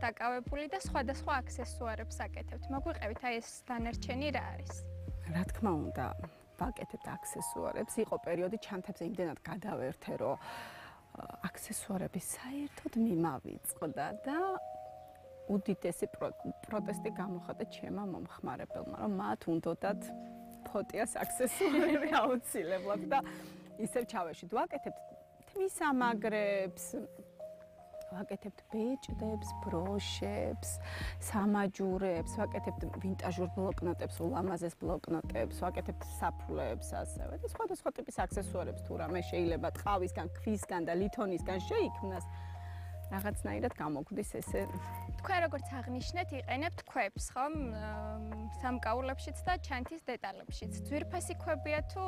დაკავებული და სხვადასხვა აქსესუარებს აკეთებთ. მოგვიყევით აი ეს დანარჩენი რა არის? რა თქმა უნდა, ვაკეთებთ აქსესუარებს. იყო პერიოდი ჩანთებზე იმდენად გადავერთე, რომ აქსესუარების საერთოდ მიმავიწყდა და უდიდესი პროტესტი გამოხატა ჩემმა მომხმარებელმა, რომ მათ უნდათ ფოტიას აქსესუარები აუცილებლად და ისევ ჩავეშვით. ვაკეთებთ თმისამაგრებს, ვაკეთებთ ბეჭდებს, ბროშებს, სამაჯურებს, ვაკეთებთ ვინტაჟურ ბლოკნოტებს, ულამაზეს ბლოკნოტებს, ვაკეთებთ საფულეებს ასევე და სხვადასხვა ტიპის აქსესუარებს თუ რამე შეიძლება ტყავისგან, ქვისგან და ლითონისგან შეიქმნას. რაღაცნაირად გამოგვდის ესე. თქვენ როგორც აღნიშნეთ, იყენებთ ქვებს, ხომ? სამკაულებშიც და ჩანთის დეტალებშიც. ძვირფასი ქვებია თუ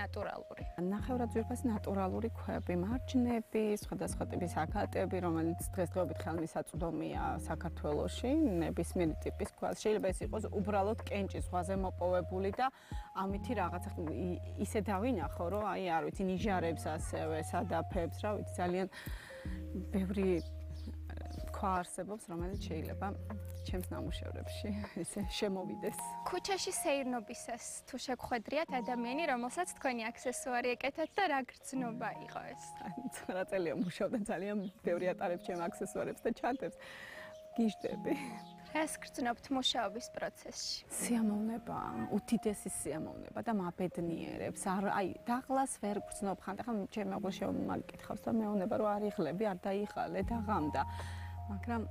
ნატურალური? ნახევრად ძვირფასი ნატურალური ქვები, მარჯნები, სხვადასხვა ტიპის აკატები, რომელიც დღესდღეობით ხელმისაწვდომია საქართველოში, ნებისმიერი ტიპის ქვა. შეიძლება ეს იყოს უბრალოდ კენჭის ზღვაზე მოპოვებული და ამითი რაღაცა ისე დავინახო, რომ აი არ ვიცი, ნიჟარებს ასევე, სადაფებს, რა ვიცი, ძალიან ბევრი ქვა არსებობს, რომელიც შეიძლება ჩემს ნამუშევრებში ესე შემოვიდეს. ქუჩაში სეირნობისას თუ შეგხვედრიათ ადამიანი, რომელსაც თქვენი აქსესუარი ეკეთათ და რა გრძნობა იყო ეს? რა წელია მუშაობდა, ძალიან ბევრი ატარებს ჩემ აქსესუარებს და ჩანთებს. გიჟდები. რას გრძნობთ მუშაობის პროცესში? სიამოვნება, უდიდესი სიამოვნება და მაბედნიერებს. აი, დაღლას ვერ გრძნობ ხანდახან, ახლა ჩემი მეგობარი შემოგკითხავს და მეუბნება რომ არ იღლები, არ დაიღალე და ღამდა. მაგრამ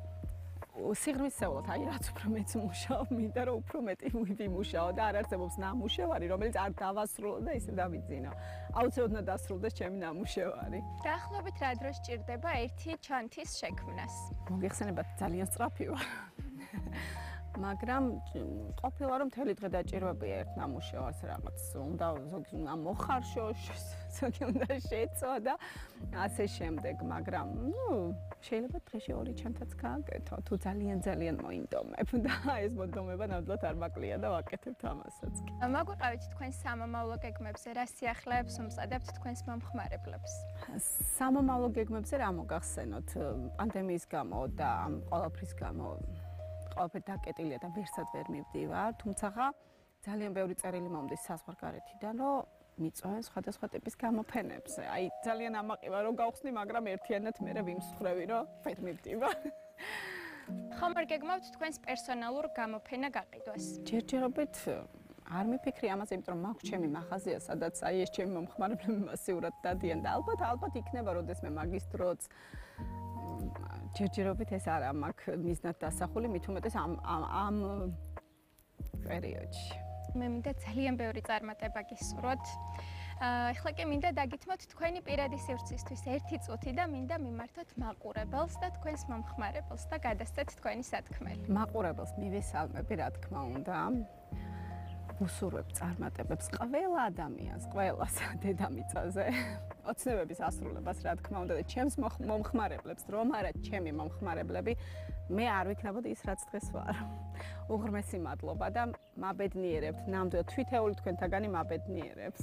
სიღრმისეულად, აი რაც უფრო მეც მუშაობ, მინდა რომ უფრო მეტი ვიმუშაო და არ არსებობს ნამუშევარი, რომელიც არ დავასრულო და ისე დავიძინო. აუცილებლად უნდა დასრულდეს ჩემი ნამუშევარი. დაახლოებით რა დროს ჭირდება ერთი ჩანთის შექმნას? მოგეხსენებათ, ძალიან სწრაფი ვარ. მაგრამ ყოფილა რომ მთელი დღე დაჭირვებია ერთ ნამუშევარს რაღაც უნდა ზოგი უნდა მოხარშო, ზოგი უნდა შეწო და ასე შემდეგ, მაგრამ შეიძლება დღეში 2 ჩანთაც გააკეთო, თუ ძალიან მოინდომებ და ეს მონდომება ნამდვილად არ მაკლია და ვაკეთებ ამასაც კი. მოგვიყევით თქვენ სამომავლო გეგმებზე, რა სიახლეებს უმზადებთ თქვენს მომხმარებლებს? სამომავლო გეგმებზე რა მოგახსენოთ, პანდემიის გამო და ამ ყველაფრის გამო ყველაფერი დაკეტილია და ვერსად ვერ მივდივარ, თუმცა ძალიან ბევრი წერილი მომდის საზღვარგარეთიდან, რომ მიწვევენ სხვადასხვა ტიპის გამოფენებზე. აი ძალიან ამაყივა რომ გავხსნი, მაგრამ ერთიანად მე ვიმსხვრევი, რომ ვერ მივდივარ. ხომ არ გეგმავთ თქვენს პერსონალურ გამოფენა გაყიდვას? ჯერჯერობით არ მიფიქრი ამაზე, იმიტომ რომ მაქვს ჩემი მაღაზია, სადაც აი ეს ჩემი მომხმარებლები მასიურად დადიან და ალბათ იქნება როდესმე მაგის დროც ჯერჯერობით ეს არ მაქვს მიზნად დასახული, მით უმეტეს ამ პერიოდში. მე მინდა ძალიან ბევრი წარმატება გისურვოთ. ეხლა კი მინდა დაგითმოთ თქვენი პირადი სივრცისთვის 1 წუთი და მინდა მიმართოთ მაყურებელს და თქვენს მომხმარებელს და გადასცეთ თქვენი სათქმელი. მაყურებელს მივესალმები, რა თქმა უნდა. უსურვებ წარმატებებს ყველა ადამიანს, ყველას დედამიწაზე. ოცნებების ასრულებას, რა თქმა უნდა, და ჩემს მომხმარებლებს, რომ არა ჩემი მომხმარებლები, მე არ ვიქნებოდი ის, რაც დღეს ვარ. უღრმესი მადლობა და მაბედნიერებთ, ნამდვილად თვითეული თქვენთაგანი მაბედნიერებს.